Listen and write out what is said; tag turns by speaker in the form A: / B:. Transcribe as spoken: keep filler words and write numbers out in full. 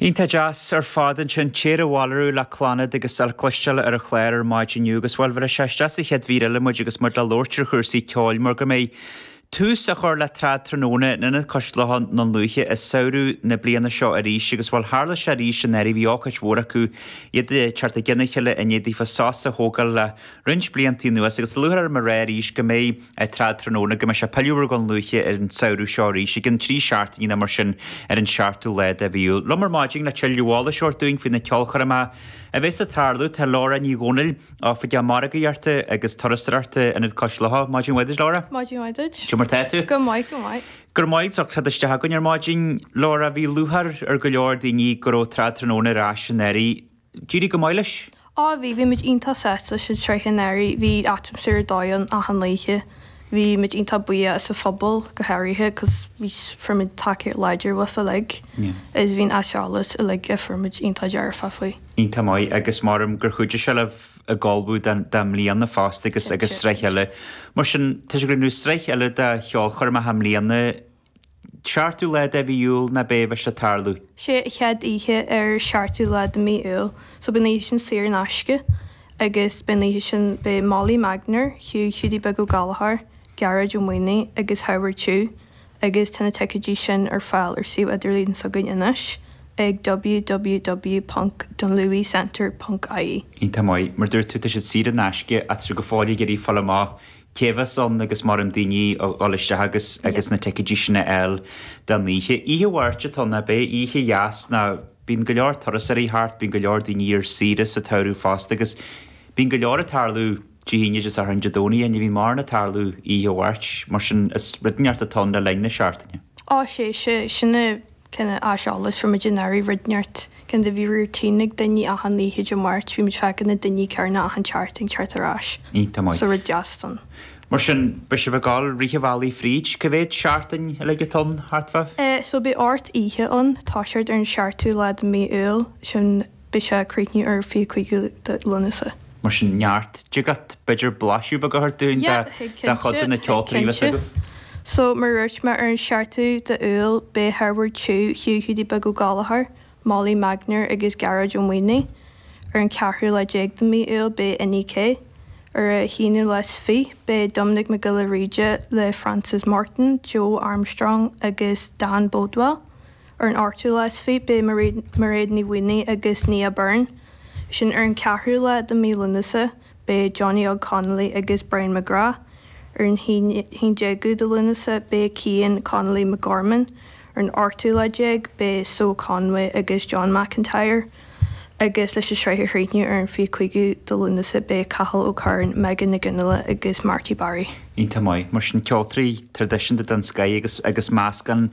A: Iontach deas ar fad ansin Téire Bhailú le Clannad agus le cloisteáil ar an chlár ar maidin inniu agus bhuel bhí sé isteach sa chéad mhír eile muid agus muid le labhairt ar chúrsaí ceoil mar go mbeidh tús á chur le Trad Tráthnóna in Ionad Cois Locha i nDún Lúiche i samhradh na bliana seo arís agus bhuel tharla sé arís anuraidh bhí ócáid mhór acu iad teacht i gcionn a chéile i ndiaidh daofa sos a thógáil le roinnt blianta anuas agus lúcháir orm a rá arís go mbeidh Trad Tráthnóna go mbeidh sé pilleadh ar Dhún Lúiche ar an samhradh seo arís ag an trí seachtainí mar sin ar an seachtú lá de mhí Iúil. Liom ar maidin le tuilleadh eolais a thabhairt dúinn faoi na ceolchoirmeacha a bheas ag tarlú tá Laura Ní Dhomhnaill Oifigeach Margaíochta agus Turasóireachta Ionad Cois Locha. Maidin mhaith Laura?
B: Maidin mhaith.
A: Cad é mar tá tú?
B: Go maith go maith.
A: Gur maith as ucht isteach againn ar maidin Laura bhí lúcháir ar go leor daoine go raibh Trad Tráthnóna ar ais anuraidh. D'éirigh go maith leis?
B: Á bhí bhí muid iontach sásta leis an tsraith anuraidh, bhí atmaisféar dóigh ann achan oíche. Bhí muid iontach buíoch as an phobal go háirithe cos bhí fuair muid tacaíocht láidir uafa uilig is bhí an aiseolas uilig a fuair muid iontach dearfach faoi.
A: Iontach maith agus mar gur chuidigh sé libh ag ullmhú don mbliana fosta agus agus sraith eile. Mar sin tá sé go nó sraith eile de cheolchoirmeacha i mbliana seachtú lá de mhí Iúil ná beidh sé ag tarlú.
B: Sé an chéad oíche ar seachtú lá de mí Iúil, so beidh an oíche sin saor in aisce agus beidh an oíche sin beidh Molly Magner, Hugh Hiúdaí Beag Ó Gallchóir, Gearóid Ó Maonaigh agus Howard Chu agus tá na ticéidí sin ar fáil ar suíomh idirlín s'againn anois ag www.dunlewycentre.ie.
A: Iontach maith, mar dúirt tú tá siad saor in aisce ach go fóill ag iarraidh fáil amach cé bheas ann agus mar an daoine dul isteach agus agus na ticéidí sin a fháil don oíche. Oíche Mháirt atá ná beidh oíche dheas ná bíonn go leor turasóirí thart, bíonn go leor daoine ar saoire sa tsamhradh fosta agus bíonn go leor ag tarlú Dé hAoine Dé Sathairn Dé Domhnaigh ní bhíonn mórán ag tarlú oíche Mháirt, mar sin is rud inteacht atá ann le linn na seachtaine.
B: Á sé sé sinna cine aiseolas fuair muid anuraidh rud inteacht cinn de bhí routine ag daoine achan oíche Dé Máirt, bhí muid feiceáil na daoine céanna achan seachtain teacht ar ais.
A: Iontach maith.
B: So rud deas don.
A: Mar sin beidh sibh ag gabháil rith an bhealaigh fríd, cá mhéad seachtain uilig atá ann thart fá?
B: Uh, so beidh ocht oíche ann toiseacht ar an seachtú lá de mí Iúil sin beidh sé críochnú ar fiche cúigiú de Lúnasa.
A: Mar sin neart digat b'fhéidir blaiseadh beag a thabhairt dúinn de chuid de na ceoltóirí a bheas agaibh.
B: So mar dúirt mé ar an seachtú de Iúil beidh Howard Chu, Hugh Hiúdaí Beag Ó Gallchóir, Molly Magner agus Gearóid Ó Maonaigh. Ar an ceathrú lá déag de mí Iúil beidh Inni K. Ar an haonú lá is fiche beidh Dominic Mac Giolla Bhríde le Francis Martin, Joe Armstrong agus Dan Bodwell. Ar an ochtú lá is fiche beidh Mairéad Ní Mhaonaigh agus Nia Byrne. Sin ar an ceathrú lá de mí Lúnasa beidh Johnny Óg Connolly agus Brian McGrath. Ar an haon déagú de Lúnasa beidh Cian Connolly McGorman. Ar an ochtú lá déag beidh So Conway agus John McIntyre. agus leis an sraith a chríochnú ar an fiche cúigiú de Lúnasa beidh Cathal O'Curran, Megan Nic Fhionnghaile agus Marty Barry.
A: Iontach maith, mar sin ceoltóirí traidisiúnta den scoth agus agus meascán